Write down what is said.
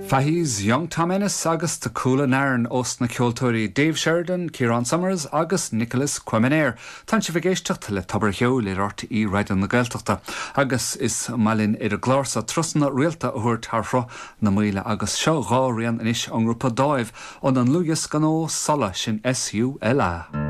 Fahy's Young Tom Ennis agus The Coolanairn ós na ceoltóirí Dave Sheridan, Ciarán Summers agus Nicholas Quemener. Tánn sibh ag éisteacht le Tobar a' Cheoil ar RTÉ Raidió na Gaeltachta agus is maith linn ar an gclár so turasanna rialta a thabhairt thar Shruth na Maoile agus seo dá rian anois ón ngrúpa Dáimh óna ndlúthdhiosca nua Sula, sin S-U-L-A.